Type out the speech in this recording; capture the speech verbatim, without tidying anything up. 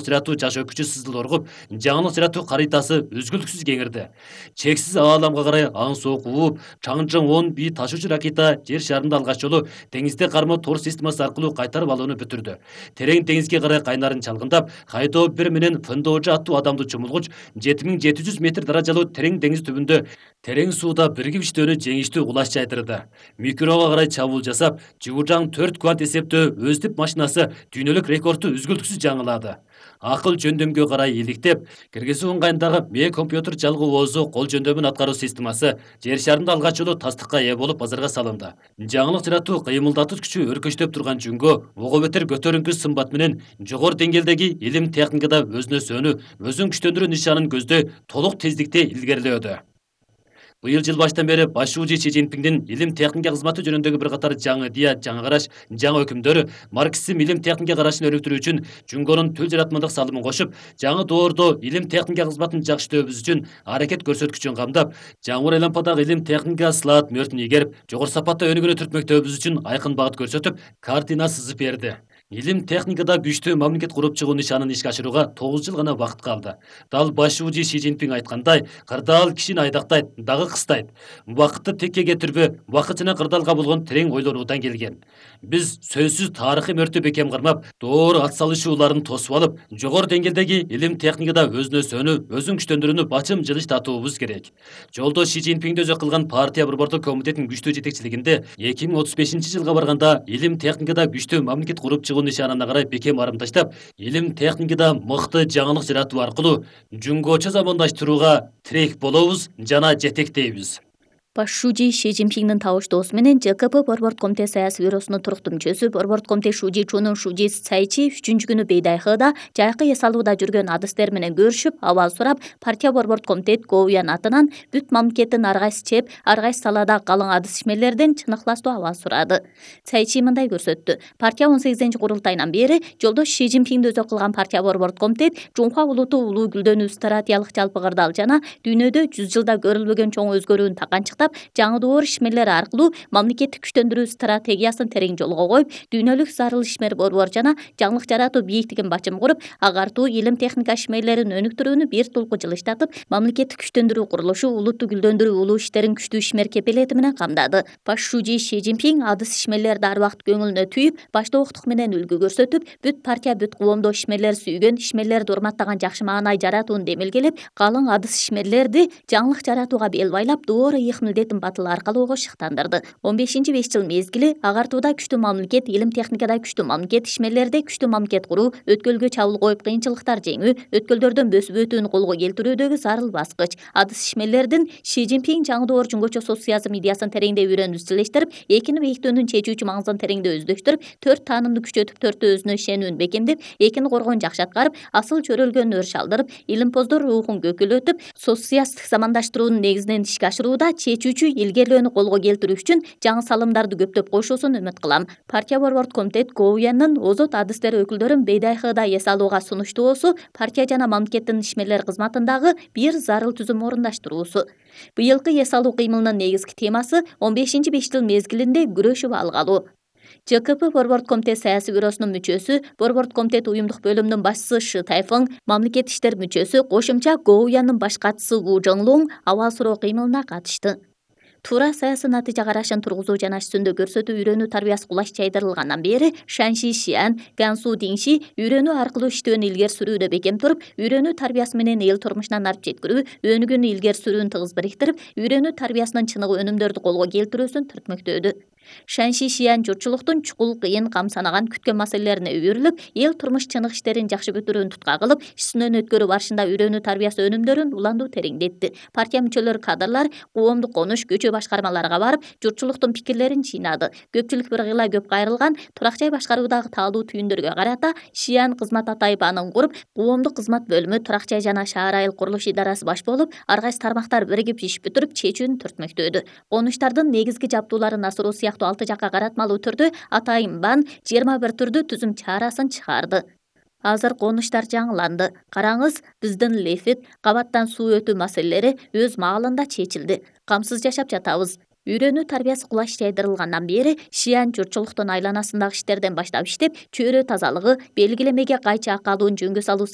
жаратуу жаш өкүчү сызыл оргуп, жаңылык жаратуу каритасы үзгүлтүксүз кеңирди. Чексиз ааламга карай аң соок ууп, Чаңжың он бий ташуучу ракета жер шарында алгач жолу деңизде карма тор системасы аркылуу кайтарып алууну бүтүрдү. Терең деңизге карай кайнарын чалгындап, Хайдоо бир менен Фындоожу аттуу адамдуу чумулгуч жети миң жети жүз метр даражалуу терең деңиз түбүндө терең сууда биригип иштөөнү жеңиштүү кулаш жайдырды. Микроого карай чабуул жасап, Жуужаң төрт квант эсептөө өздүп машинасы дүйнөлүк рекордду үзгүлтүксүз жаңылады. Акыл жөндөмгө карай иликтеп, киргизүү ыңгайындагы Ме компьютер жалгоо оозу кол жөндөмүн аткаруу системасы жер шарында алгач жолу тастыкка ээ болуп базарга салынды. Жаңылык жаратуу кыймылдатуу күчү өркөчтөп турган жүнгө ого бетер көтөрүңкү сымбат менен жогору деңгээлдеги илим техникада өзүнө сөнүү, өзүн күчтөндүрүү нишанын көздөй толук тездикте илгерилөөдө. Быйыл жыл баштан бери башчы Си Цзиньпиндин илим техника кызматы жөнүндөгү бир катар жаңы идея, жаңы караш, жаңы өкүмдөр марксизм илим техника карашын өнүктүрүү үчүн Жүнгөнүн төл жаратмандык салымын кошуп, жаңы доордо илим техника кызматын жакшы иштөөбүз үчүн аракет көрсөткүчүн камдап, жаңы айлампадагы илим техника сылаат мөртүн ийгерип, жогору сапатта өнүгүүнү түртмөктөөбүз үчүн айкын багыт көрсөтүп, картина сызып берди. Илим техникада күчтүү мамлекет куруп чыгуу нишанын ишке ашырууга тогуз жыл гана убакыт калды. Дал башчы Си Цзиньпин айткандай, кырдаал кишини айдактайт, дагы кыстайт. Убакытты текке кетирбөө, убакыт жана кырдаалга болгон терең ойлонуудан келген. Биз сөзсүз тарыхый мөртө бекем кармап, доор ат салышууларын тосуп алып, жогору деңгээлдеги илим техникада өзүнө сөнүү, өзүн күчтөндүрүүнү бачым жылыш татуубуз керек. Жолдо Си Цзиньпинди өзү кылган партия борбордук комитетинин күчтүү жетекчилигинде эки миң отуз бешинчи жылга барганда илим техникада күчтүү мамлекет куруп чыгуу нишанына карай бекем арым таштап, илим техникада мыкты жаңылык жаратуу аркылуу Жүнгөчө замандаштырууга тирек болобуз жана жетектейбиз. Башчы Си Цзиньпиндин табыштоосу менен Ж К П Борбордук комитет саясий бюросунун туруктуу мүчөсү Борбордук комитет Шужи Чунун Шужи Цайчи үчүнчү күнү Бейдайхыда жайкы эс алууда жүргөн адыстер менен көрүшүп, абал сурап, партия Борбордук комитет Гоуян атынан бүт мамлекеттин ар кайсы чеп, ар кайсы салада калың адыс ишмерлерден чыныкталуу абал сурады. Цайчи мындай көрсөттү. Партия он сегизинчи курултайынан бери жолдош Си Цзиньпинди өзү кылган партия Борбордук комитет Жунхва улуту улуу гүлдөнүү стратегиялык жалпы кырдаал жана дүйнөдө жүз жылда көрүлбөгөн чоң өзгөрүүнү таканчыктап, жаңы доор ишмерлери аркылуу мамлекеттик күчтөндүрүү стратегиясын терең жолго коюп, дүйнөлүк зарыл ишмер борбор жана жаңылык жаратуу бийиктигин бачым куруп, агартуу илим техника ишмерлерин өнүктүрүүнү бир тулку жылыштатып, мамлекеттик күчтөндүрүү курулушу, улутту гүлдөндүрүү улуу иштерин күчтүү ишмер кепилети менен камдады. Башчы Си Цзиньпин адыс ишмерлерди ар убакыт көңүлүнө түйүп, баштоодук менен үлгү көрсөтүп, бүт партия бүт коомдо ишмерлер сүйгөн, ишмерлерди урматтаган жакшы маанай жаратууну демилгелеп, калың адыс ишмерлерди жаңылык жаратууга бел байлап, дооро ыйык милдетин батыл аркалоого шыктандырды. он бешинчи беш жыл мезгили агартууда күчтүү мамлекет, илим техникада күчтүү мамлекет, ишмерлерде күчтүү мамлекет куруу, өткөлгө чабуул коюп кыйынчылыктар жеңүү, өткөлдөрдөн бөсүп өтүүнү колго келтирүүдөгү зарыл баскыч. Адыс ишмерлердин Си Цзиньпин жаңы доор жөнгөчө социализм идеясын тереңдей үйрөнүп изчилештирип, экини бийиктөөнүн чечүүчү маңызын тереңдей өздөштүрүп, төрт таанымды күчөтүп, төртөө өзүнө ишенүүнү бекемдеп, экини коргоону жакшы аткарып, асыл чөрөлгөн өрүш алдырып, илимпоздор рухун көкүлөтүп, социалисттик замандаштыруунун негизинен ишке ашырууда чечүүчү илгерилөөнү колго келтирүү үчүн жаңы салымдарды көптөп коюшусун үмүт кылам. Партия Борбордук комитет Гоуянын озот адыстер өкүлдөрүн Бейдайхыда эс алууга сунуштоосу партия жана мамлекеттин ишмерлер кызматындагы бир зарыл түзүм орундаштыруусу. Быйылкы эс алуу кыймылынын негизги темасы он бешинчи беш жыл мезгилинде күрөшүп алгалуу. Ж К П Борбордук комитет саясий бюросунун мүчөсү, Борбордук комитет уюмдук бөлүмүнүн башчысы Шы Тайфың, мамлекеттик иштер мүчөсү, кошумча Гоуянын баш катчысы Ву Жоңлуң абал суроо кыймылына катышты. Туура саясий натыйжа карашын тургузуу жана үстүндө көрсөтүү үйрөнүү тарбиясы кулаш жайдырылгандан бери Шанши Шиан, Гансу Динши үйрөнүү аркылуу иштөөнү илгери сүрүүдө бекем туруп, үйрөнүү тарбиясы менен эл турмушунан алып жеткирүү, өнүгүүнү илгери сүрүүнү тыгыз бириктирип, үйрөнүү тарбиясынын чыныгы өнүмдөрдү колго келтирүүсүн түртмөктөөдү. Шанши Шиан журтчулуктун чукул, кыйын, кам санаган, күткөн маселелерине үйүрүлүп, эл турмуш чынык иштерин жакшы бүтүрүүнү тутка кылып, ишинен өткөрүү барышында үйрөнүү тарбиясы өнүмдөрүн уландуу тереңдетти. Партия мүчөлөрү, кадрлар коомдук конуш, көчө башкармаларга барып, журтчулуктун пикирлерин жыйнады. Көпчүлүк бир кыйла көп кайрылган турак жай башкаруудагы таалуу түйүндөргө карата Шиан кызмат атайып анын куруп, коомдук кызмат бөлүмү, турак жай жана шаар айыл курулуш идарасы баш болуп, ар кайсы тармактар биригип иш бүтүрүп, чечүүнү түртмөктөөдү. Конуштардын негизги жабдууларын асыруу сыяктуу алты жакка каратмалуу түрдө атайын бан жыйырма бир түрдүү түзүм чаарасын чыгарды. Азыр конуштар жаңыланды. Караңыз, биздин лефит, кабаттан суу өтүү маселелери өз маалында чечилди. Камсыз жашап жатабыз. Үйрөнүү тарбиясы кулач жайдырылгандан бери Шиан журтчулуктун айланасындагы иштерден баштап иштеп, чөйрө тазалыгы, белгилемеге кайчы акы алуун жөнгө салуу